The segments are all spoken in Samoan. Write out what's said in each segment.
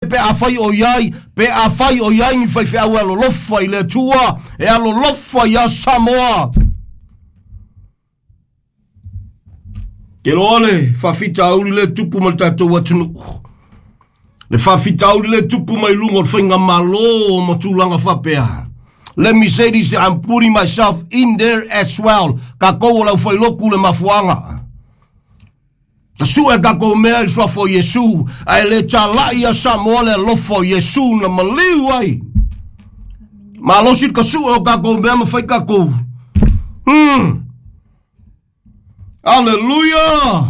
Pe afai o i ai, pe afai o i ai ni faifeau e alolofa i le Atua, e alolofa iā Samoa. Ke loa le faafitauli le tupu ma le tatou atunuu. Le faafitauli le tupu mai luga o le faigamalo ma tulaga faapea. Let me say this, I'm putting myself in there as well. Kakou o lau failoku le mafuaga. Sue tatou mea i le suafa o Iesu, ae le talai ia Samoa le alofa o Iesu na maliu ai. Malosi le kasue o tatou mea ma fai tatou. Aleluia!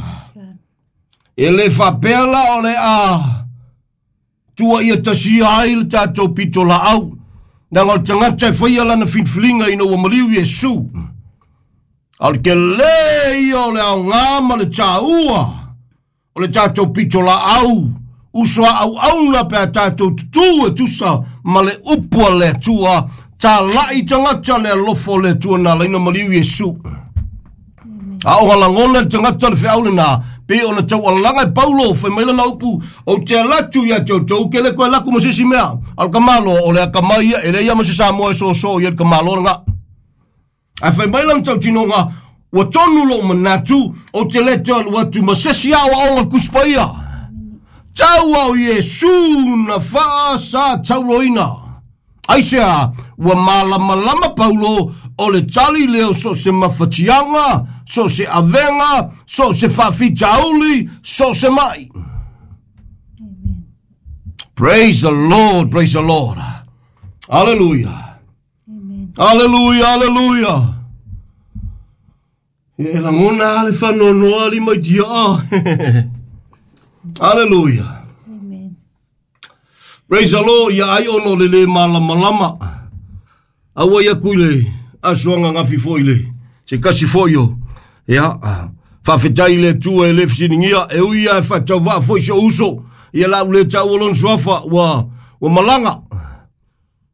E le faapea la o le a tua ia tasia ai le tatou pito laau. Leaga o le tagata e faia lana filifiliga ina ua maliu Iesu. A o le tele ia o le aoga ma le taua o le tatou pito laau uso a auauna pe a tatou tutū e tusa ma le upu a le Atua, talai tagata le alofa o le Atua na alaina maliu Iesu. A o lagona le tagata le feau lena, pe ona taualaga e Paulo, fai mai lana upu, ou te alu atu ia te outou, ke le koe laku ma se isi mea. A o le tamaloa, o le akamai ia, e leai lava ma se Samoa e soso i ai le tamaloa lena. Ae fai mai lana tautinoga, ua tonu lou manatu, ou te le toe alu atu ma se isi aoaoga o le Tusi Paia. Tau a o Iesu na faasatauloina. Aisea, ua malamalama Paulo o le tali lea o so o se mafatiaga, so o se avega, so o se faafitauli, so o se mai. Praise the Lord, praise the Lord. Hallelujah. Hallelujah, hallelujah. E lagona le faanoanoa lima i tiaa. Hallelujah. Amen. Praise the Lord, ia ai ona o le le malamalama. Aua ia ku i le aso ananafi foi le se kasi foi o ia faafetai i le Atua e le fesiligia e ui lava e faatauvaa foi si ou uso ia la u le taua lona suafa ua ua malaga.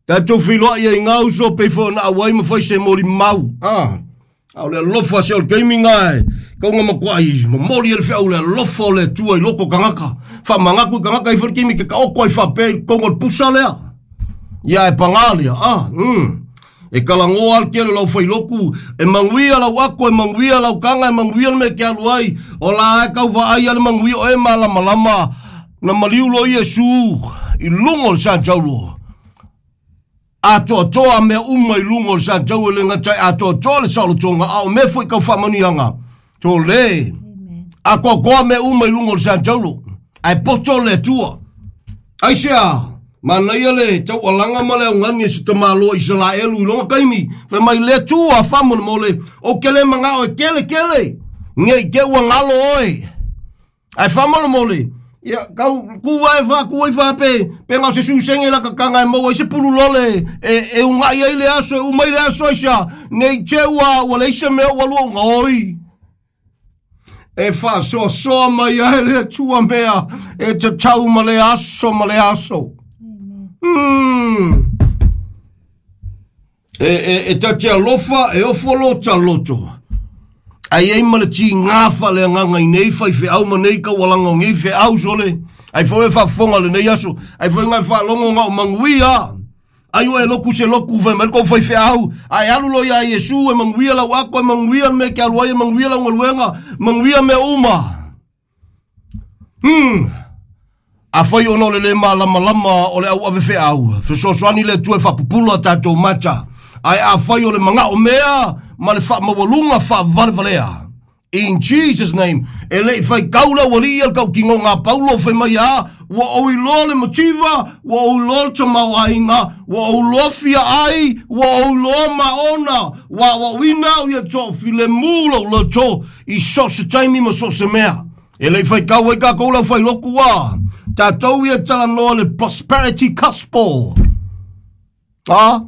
Tatou feiloai ai ngā uso pei foi ona auai ma fai se molimau. Ah. A o le alofa se o le taimi ngā e kaunga matuai momoli e le feau le alofa o le Atua i loko o tagata. Faamanatu i tagata i foi le taimi ke taoto ai faapea i totonu o le pusa lea. Ia e pagā lea. Ah. E talanoa le tele o lau failotu, e manuia lau ato, e manuia lau taga, e manuia le mea e te alu ai. O la e tau vaai lava le manuia o e malamalama. Na maliu loa Iesu i luga o le sataulo. Atoatoa mea uma i luga o le satau e le gata e atoatoa le saolotoga, a o mea foi tau faamanuiaga. Tole. Atoatoa mea uma i luga o le sataulo. Ae poto le Atua. Aisea? Manaia le taualaga ma le augani a se tamaloa Isaraelu i lona taimi, fai mai le Atua faamolemole, ou te le manao e kele kele, ne i te ua galo oe. Ae faamolemole, ia, tau ku ae faaku ai faape, pe na o se susege la kakaga e maua ai se pulu lole e, e ugai ai le aso, e uma ai le aso aisea, ne i te ua, ua leai se mea ua lua uga oi. E faasoasoa mai ai le Atua mea e tatau ma le aso ma le aso. E, e, e ta te alofa, e ofo lo ta loto. Ai ai ma le tigā faaleagaga i nei faifeau ma nei taualaga o nei feau sole. Ai foi e faafofoga lenei aso. Ai foi ngai faalogo na o manuia. Ai o e loku se loku fai mai le kou faifeau. Ae alu loa iā Iesu e manuia lau ato, e manuia le mea e te alu ai, e manuia lau galuega, manuia mea uma. Afai ona o le le malamalama o le auave feau, fesoasoani le Atua e faapupula a tatou mata. Ae afai o le manao mea ma le faamaualuga faavalevalea. In Jesus name, e le i faitau le aualii ia le tautinoga a Paulo fai mai a, ua ou iloa le mativa, ua ou iloa le tamaoaiga, ua ou iloa fia ai, ua ou iloa maona, ua aoaoina au ia toafilemu lou loto i so o se taimi ma so o se mea. E le i faitau ai tatou le aufailotu a, tatou ia talanoa le prosperity gospel. Ah?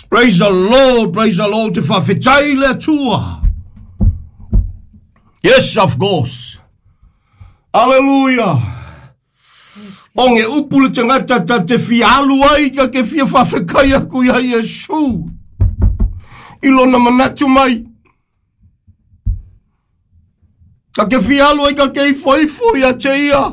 Praise the Lord, praise the Lord, te whawhetai le Atua. Yes, of course. Hallelujah. O nge upu le tangata ta te fia alu ai, ta te fia whawhetai aku ia Iesu. I lona manatu mai. Ta te fia alu ai ta te ifoifo ia te ia.